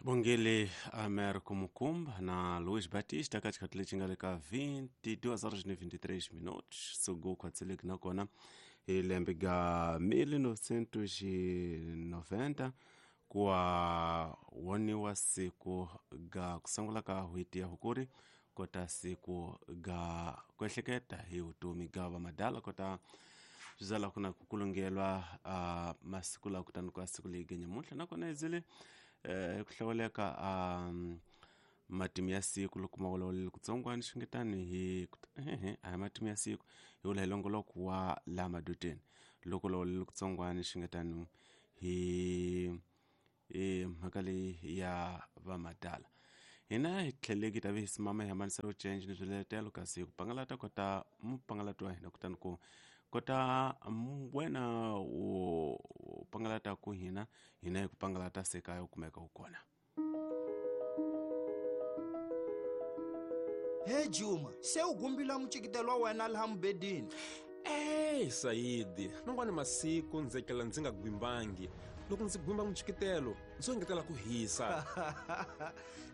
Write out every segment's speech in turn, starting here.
Bongele Amer Kumukumba na Luís Batista ka xikhathi lexi nga le ka 22 horas ni 23 minutos suku khwatseleki nakona hi lembe ga 1990 kuwa woniwa siku ga ku sungula ka hweti ya hukuri kota siku ga ku ehleketa hi vutomi ga vamadala kota swi ku na ku kulungelwa masiku lawa kutani ka siku leyi ga nyamuntlha nakona hi ku hlawuleka matimu ya siku loko ma vulavulele kutsongwana xingetani hi a hi matimu ya siku hi vula hi longoloko wa laha madoteni loko vulavulele kutsongwana xingetani hi mhaka leyi ya vamadala hina hi tlheleki ta vi simama hi hambanisela change ni swiletelo kasi ku pangalata kota mupangalati wa hina kutani ku kota wena u pangalata ku hina hina hi ku pangalata se kaya u kumeka u kona. He Juma, se u gumbila mucikitelo wa wena laha mubedini. Ey Saidi, man'wani masiku ndzi etlela ndzi nga gwimbangi. Loko ndzi gwimba mucikitelo, ndzi engetela ku hisa.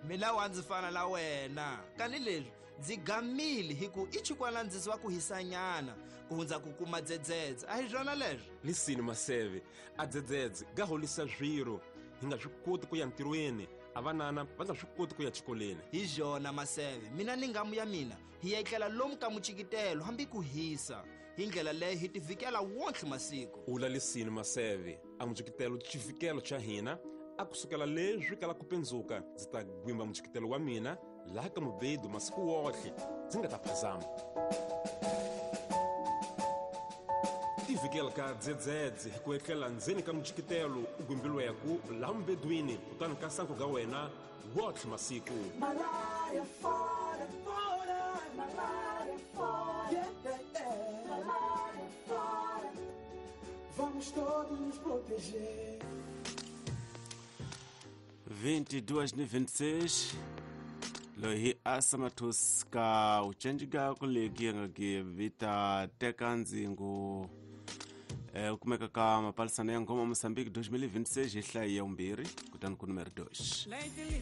Mina wa ndzi fana na wena. Kani leswi ndzi gamile hi ku i chikwana ndzi wa ku hisanyana ku hundza ku kuma dzedzedze. A hi swona leswo? Lisini Maseve, a dzedzedze ga holisa swiro. Hi nga swi koti ku ya ntirhweni, a vanana va nga swi koti ku ya xikolweni. Hi byona Maseve, mina ni ngamu ya mina hi ya etlela lomu ka mucikitelo hambi ku hisa. Hi ndlela leyo hi tivikela wontlhe masiku. Ula lisini Maseve, a mucikitelo xivikelo xa hina a kusukela leswi kala ku pendzuka ndzi ta gwimba mucikitelo wa mina laha ka mubedu masiku wotlhe ndzi nga ta phazama. Tivikela ka dzedzedze hi ku etlela ndzeni ka mucikitelo u gwimbilweku laha mubedwini kutani ka sanku ga wena wotlhe masiku. Malaria fora, fora, malaria fora, yeah, yeah, yeah. Malaria fora. Vamos todos nos proteger. 22:26 loyi hi asa mathusi ka u cenjika ku leki nga ki vita teka ndzingo u kumeka ka mapalisana ya ngoma Mozambique 2026 hi hlayi ya vumbirhi kutani ku numero 2.